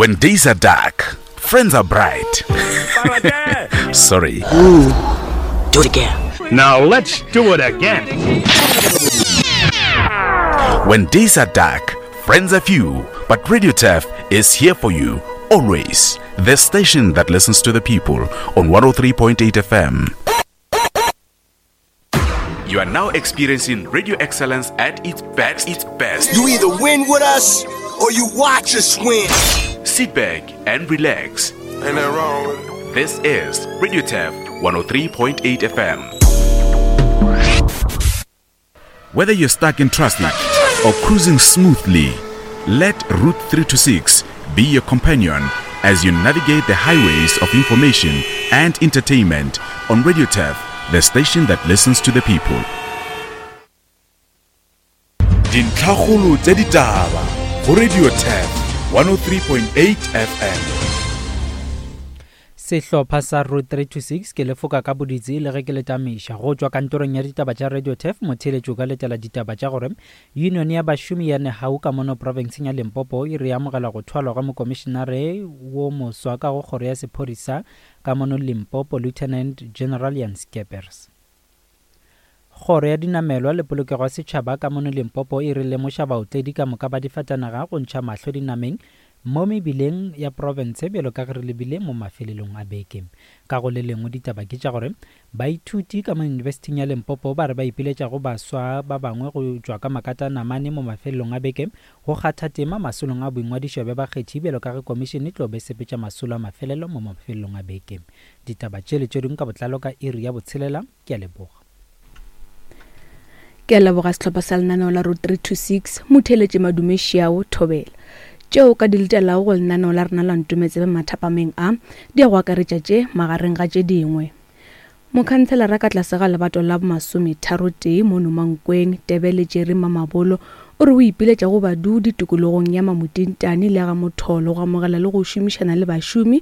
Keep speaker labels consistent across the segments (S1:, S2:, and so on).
S1: When days are dark, friends are bright. Sorry.
S2: Ooh, do it again.
S3: Now let's do it again.
S1: When days are dark, friends are few, but Radio Turf is here for you always. The station that listens to the people on 103.8 FM. You are now experiencing radio excellence at its best. Its best.
S4: You either win with us or you watch us win.
S1: Sit back and relax.
S5: Ain't that wrong with it?
S1: This is Radio Turf 103.8 FM. Whether you're stuck in traffic or cruising smoothly, let Route 326 be your companion as you navigate the highways of information and entertainment on Radio Turf, the station that listens to the people. Dintlhakgolo tša ditaba go Radio Turf 103.8 FM.
S6: Sehlopha sa Route 326 ke lefoka ka boditsi le ge ke le tamiša. Go tšwa kantorong ya ditaba tša Radio Turf, motheeletši o ka letela ditaba tša gore Yunione ya bašomi ya Nehau ka mono profenseng ya Limpopo e re amogela go thwalwa ga mokomišenare wo moswa ka go kgoro ya sephodisa ka mono Limpopo, Lieutenant General Jan Scheepers. Kgoro ya Dinamelwa le Polokego ya Setšhaba ka mono Limpopo e re lemoša baotledi ka moka ba difatanaga go ntšha mahlo dinameng mo mebileng ya profense bjalo ka ge re lebile mo mafelelong a beke. Ka go le lengwe ditaba ke tša gore Baithuti ka mo Yunibesithing ya Limpopo ba re ba ipiletša go baswa ba bangwe go tšwa ka makatanamane mo mafelelong a beke go kgatha tema masolong a boingwadišo bja bakgethi bjalo ka ge komišene e tlo be sepetša masolo a mafelelo mo mafelelong a beke. Ditaba tše le tše dingwe ka botlalo ka iri ya botshelela. Ke a leboga.
S7: Ke a leboga sehlopha sa lenaneo la Road 326, Motheeletši Madume Šiao, Thobela. Tšeo o ka di letelago go lenaneo la rena la Ntometsebe mathapameng a, di ya go akaretša tše, magareng ga tše dingwe. Mokhantshelara ka tlase ga lebato la bomasometharotee mono Mankweng, Tebele Jerry Mamabolo, o re o ipiletša go badudi tikologong ya Mamutintane le ya ga Motholo go amogela le go šomišana le bašomi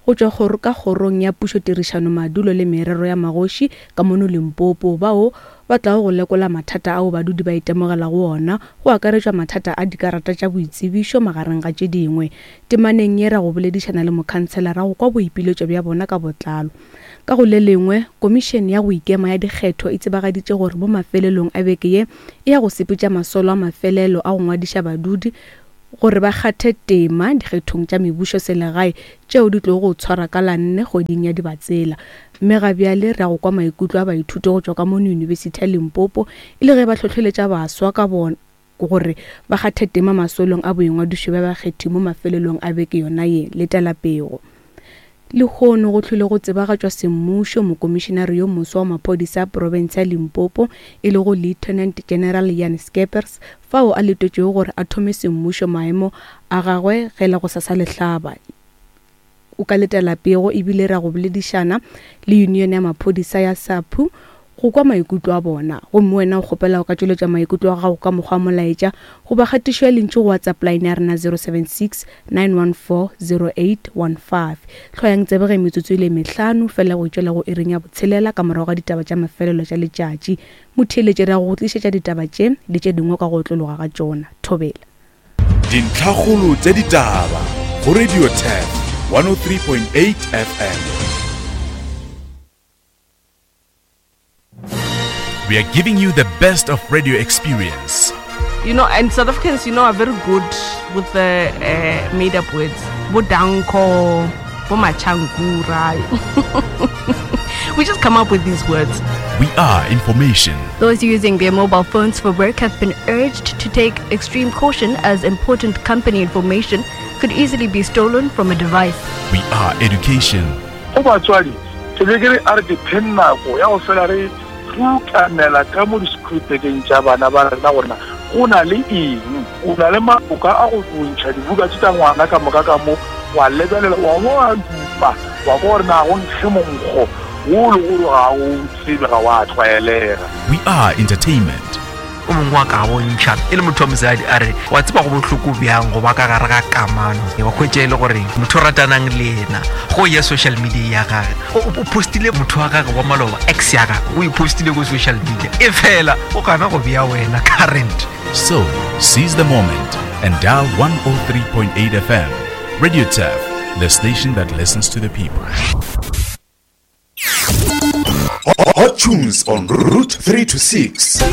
S7: go tšwa kgoro ka kgorong ya pušo tirišano madulo le merero ya magoši ka mono Limpopo bao ba tlago go lekola mathata ao badudi ba itemogelago ona go akaretšwa mathata a dikarata tša boitsebišo magareng ga tše dingwe. Temaneng ye ra go boledišana le mokhantshelara go kwa boipiletšo bja bona ka botlalo. Ka go le lengwe, Komišene ya go Ikema ya Dikgetho e tsebagaditše gore mo mafelelong a beke ye e ya go sepetša masolo a mafelelo a go ngwadiša badudi gore ba kgathe tema dikgethong tša mebušoselegae tšeo di tlogo go tshwarwa ka la nne kgweding ya Dibatsela. Mme ga bjale re ya go kwa maikutlo a baithuti go tšwa ka mono Yunibesithi ya Limpopo e le ge ba hlohleletša baswa ka bona gore ba kgathe tema masolong a boingwadišo bja bakgethi mo mafelelong a beke yona ye. Letela pego. Lehono go hlwile go tsebagatšwa semmušo mokomišenare yo moswa wa maphodisa a profense ya Limpopo e lego Lieutenant General Jan Scheepers fao a letetšwego gore a thome semmušo maemo a gagwe ge la gosasa le hlaba. O ka letela pego ebile ra go boledišana le yunione ya maphodisa ya SAPU go kwa maikutlo a bona. Gomme wena o kgopela go ka tšweletša maikutlo a gago ka mokgwa wa molaetša goba kgatišo ya lentšu go WhatsApp line ya rena 076 914 0815. Hlwayang tsebe ge metsotso e le mehlano fela go itšwela go iring ya botshelela ka morago ga ditaba tša mafelelo tša letšatši. Motheeletši re ya go go tlišetša ditaba tše le tše dingwe ka go otlologa ga tšona. Thobela.
S1: Dintlhakgolo tša ditaba go Radio Turf 103.8 FM. We are giving you the best of radio experience.
S8: You know, and South Africans, you know, are very good with the uh, made up words. Bodanko, Bomachankura. we just come up with these words.
S1: We are information.
S9: Those using their mobile phones for work have been urged to take extreme caution as important company information could easily be stolen from a device.
S1: We are education.
S10: Go batswadi, ke be ke re a re ke pheng nako ya go fela re rukanela ka mo di-schoolbageng tša bana ba rena gore na go na le eng. O na le maloka a go ntšha dibuka tše tša ngwana ka moka ka mo, wa lebelela, wa bo wa dupa, wa kwa gore na go nkge monkgo wo le gore ga o tsebe, ga wa tlwaelega.
S1: We are entertainment.
S11: O mongwe wa ka bontšha e le motho wa mosadi a re wa tseba go bohloko bjang go ba ka gare ga kamano wa hwetša e le gore motho o ratanang le yena go ya social media ya gage o postile motho wa gage wa maloba ex ya gage o e postile ko social media e fela o gana go bea wena current
S1: So, seize the moment and dial 103.8 FM. Radio Turf, the station that listens to the people. Hot tunes on Route 3 to 6.